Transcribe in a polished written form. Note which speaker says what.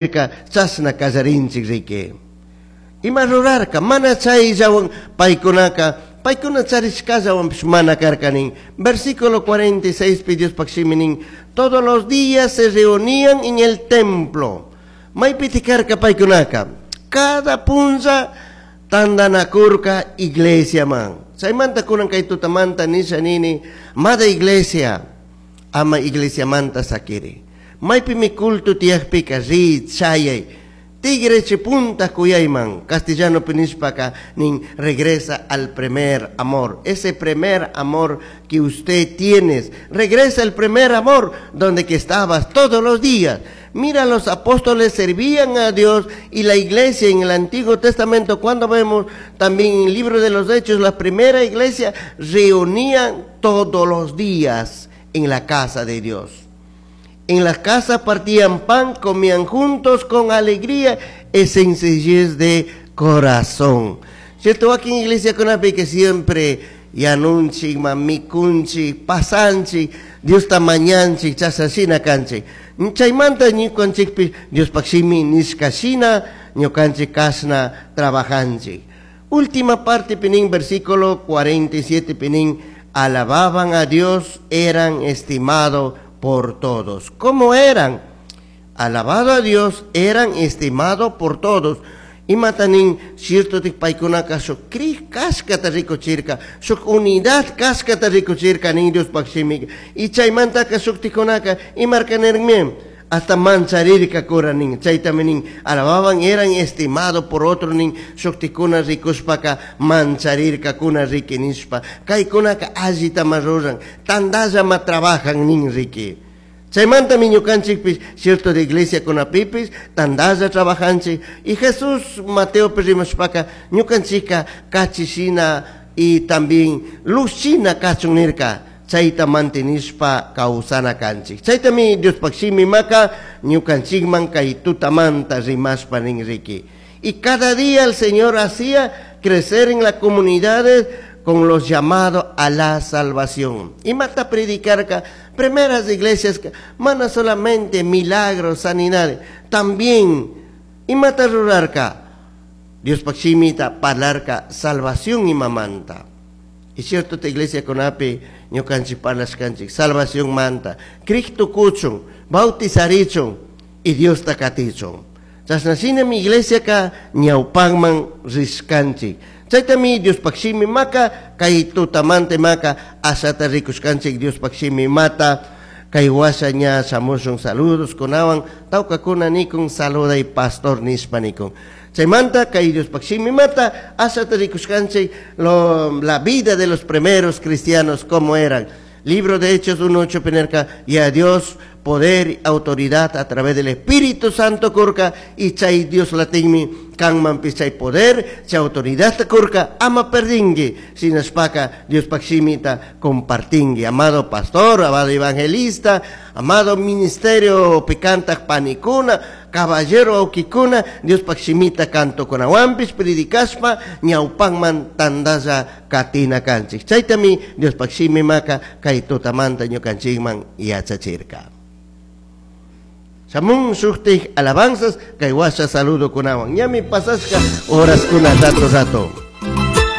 Speaker 1: Chashna kallarinchik riki. Ima rurarka mana chayllawan paykunaka paykuna charishkallawanpish mana karka nin. Versículo 46 pi Diospaj shimi nin: todos los días se reunían en el templo. Maypiti karka paykunaka? Cada punlla tandanakurka iglesiaman. Chaymanta kunan kay tutamanta nisha nini: amada iglesia, ama iglesiamanta sakiri. Maypimi culto tiyakpika ri, chayay, tigre punta kuyayman. Castellano nishpaka nin: regresa al primer amor, ese primer amor que usted tienes. Regresa al primer amor donde que estabas todos los días. Mira, los apóstoles servían a Dios y la iglesia en el Antiguo Testamento, cuando vemos también en el libro de los Hechos, la primera iglesia reunían todos los días en la casa de Dios. En las casas partían pan, comían juntos con alegría y sencillez de corazón. ¿Cierto? Aquí en iglesia con que siempre yanunchik, mikunchik, pasanchik, Diosta mañanchik, chasashina kanchik. Chaymanta ñukanchikpi Diospaj shimi nishka shina ñukanchik kashna trabajanchik. Última parte pi nin, versículo 47 pi nin: alababan a Dios, eran estimados por todos. ¿Cómo eran? Alabado a Dios, eran estimados por todos. Imata nin? Cierto paykunaka shuk crij kashkata rikuchirka, shuk unidad kashkata rikuchirka nin Diospaj shimika. Y chaymantaka shuktikunaka imarka nirmi hasta mancharirkakuna nin. Chaytami nin: alababan, eran estimados por otro nin. Shuktikuna rikushpaka mancharirkakuna riki nishpa, kaykunaka allitama ruran, tandallama trabajan nin riki. Chaymantami ñukanchikpish, cierto, de iglesia kunapipis tandalla trabajanchik. Y Jesús Mateo rimashpaka ñukanchika kachishina y también luz shina kachun nirka. Chayta mantenishpa kawsana kanchik. Chaytami Diospaj shimi maka ñukanchikman kay tutamanta rimashpa nin riki. Y cada día el Señor hacía crecer en las comunidades con los llamados a la salvación. Imata predicarka primeras iglesias, mana solamente milagros, sanidades, también imata rurarka? Diospaj shimita parlarka salvación imamanta. Y cierto, esta iglesia kunapi ñukanchik parlashkanchik salvación manta, Cristo kuchun, bautizarichun y Diosta katichun. Chashna shinami iglesia ka ñawpakman rishkanchik. Chaytami Diospaj shimi maka kay tutamanta maka ashata rikushkanchik Diospaj shimi mata. Kay washa ña shamushun saludos kunawan, tawkakuna nikun saluday pastor nishpa nikun. Chaymanta kay Diospaj shimi mata ashata rikushkanchik la vida de los primeros cristianos, cómo eran. Libro de Hechos 1.8 pi nirka: y a Dios poder y autoridad a través del Espíritu Santo kurka. Y chay Dios latinmi kanman chay poder, chay autoridad kurka, ama perdingui, shinashpaka Diospaj shimita compartingui. Amado pastor, amado evangelista, amado ministerio picantak panikuna, caballero aukikuna, Diospaj shimita cantokunawanpish predicashpa ñawpakman tandalla katina kanchik. Chaytami Diospaj shimi maka kay tutamanta ñukanchikman yachachirka. Shamun shuktik alabanzas kay washa saludo kunawan. Ñami pasashka horas kuna rato rato.